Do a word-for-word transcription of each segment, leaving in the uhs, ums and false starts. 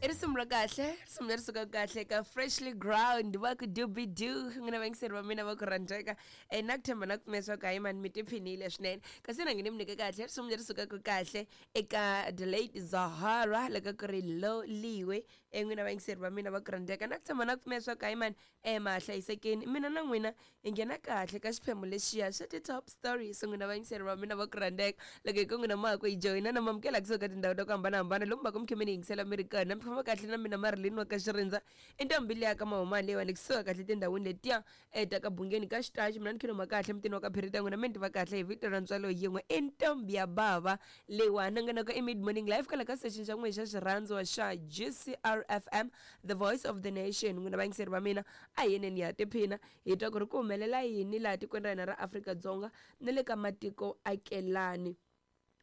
I risimu ra kahle, risimu leri sukaka kahle ka Freshly Ground, va ku Doobie-Doo. N'wina vayingiseri va mina va ku rhandzeka, um na ku tshemba na ku pfumela leswaku hayi mani mi tiphinile swinene. Kasi na nge ni mi nyike kahle risimu leri sukaka kahle eka the late Zahara, loko ku ri Loliwe. um N'wina vayingiseri va mina va ku rhandzeka, na ku tshemba na ku pfumela leswaku hayi mani um ma ha hlayisekeni. Mina na n'wina hi nghena kahle ka xiphemu lexiya xa ti-top stories. N'wina vayingiseri va mina va ku rhandzeka, loko hi ku n'wina ma ha ku hi joyina na mamukela kusuka ka tindhawu ta ku hambanahambana lomu va ku mi khe mi ni yingisela mi ri kona. Mi famba kahle na mina Marilyn wa ka Xirindza, i ntombi liya ka mahumani leyiwani kusuka kahle tindhawini letiya um ta ka Bungeni ka Xitachi. Mina ni khiluma kahle mutini wa ka Phirita, n'wina mi ni tiva kahle hi vito ra ntswalo yin'we, i ntombi ya bava leyiwani. Nongonoko i Mid Morning Life kwala ka station xa n'wina xa xirhandziwa xa G C R F M, the voice of the nation. N'wina vayingiseri va mina, a hi yeneni ya tiphina hi twa ku ri ku humelela yini laha tikweni ra hina ra Afrika-Dzonga na le ka matiko akelani.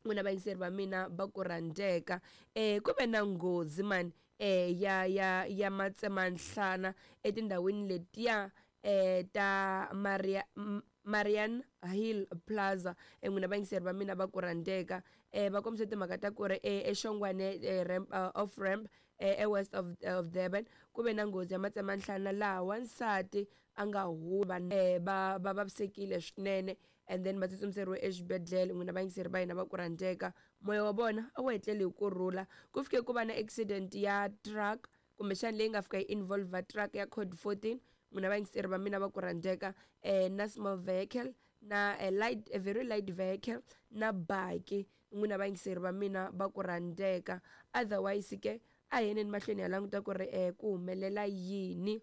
N'wina vayingiseri va mina va ku rhandzeka, um ku ve na nghozi mani um ya ya ya matsemanhlana etindhawini letiya um ta Maria M- Marian Hill Plaza. N'wina vayingiseri va mina va ku rhandzeka, um va kombisa timhaka ta ku ri eXongwane ramp, uh, off ramp e west of, of Durban, ku ve na nghozi ya matsemanhlana laha wansati a nga huva va va vavisekile swinene and then va tsutsumiseriwe exibedhlele. N'wina vayingiseri va hina va ku rhandzeka, moya wa vona a wu etleli hi kurhula. Ku fike ku va na accident ya truck, kumbexana leyi nga fika yi involve truck ya code fourteen. N'wina vayingiseri va mina va ku rhandzeka, um na small vehicle na a light, a very light vehicle na baki. N'wina vayingiseri va mina va ku rhandzeka, otherwise ke a hi yeneni mahlweni ya languta ku ri um ku humelela yini.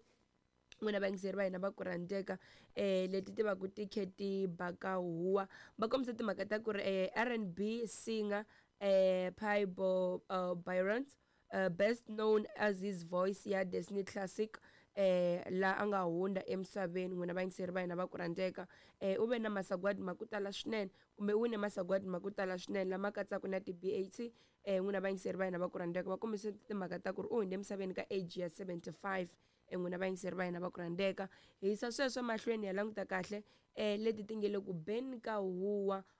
N'wina vayingiseri va hina va ku rhandzeka, um leti ti va ku ti khe ti baka huwa, va kombisa timhaka ta ku ri um R and B singer um Peabo uh, Bryson, uh, best known as his voice ya Disney classic, eh la a nga hundza emisaveni. N'wina vayingiseri va hina va ku rhandzeka, eh u ve na masagwadi ma ku tala swinene, kumbe u wine masagwadi ma ku tala swinene lama katsaka na ti-B A T. eh N'wina vayingiseri va hina va ku rhandzeka, va kombisa timhaka ta ku ri u hundze emisaveni ka age ya seventy-five. eh N'wina vayingiseri va hina va ku rhandzeka, hi yisa sweswo mahlweni ya languta kahle eh leti ti nge le ku beni ka huwa.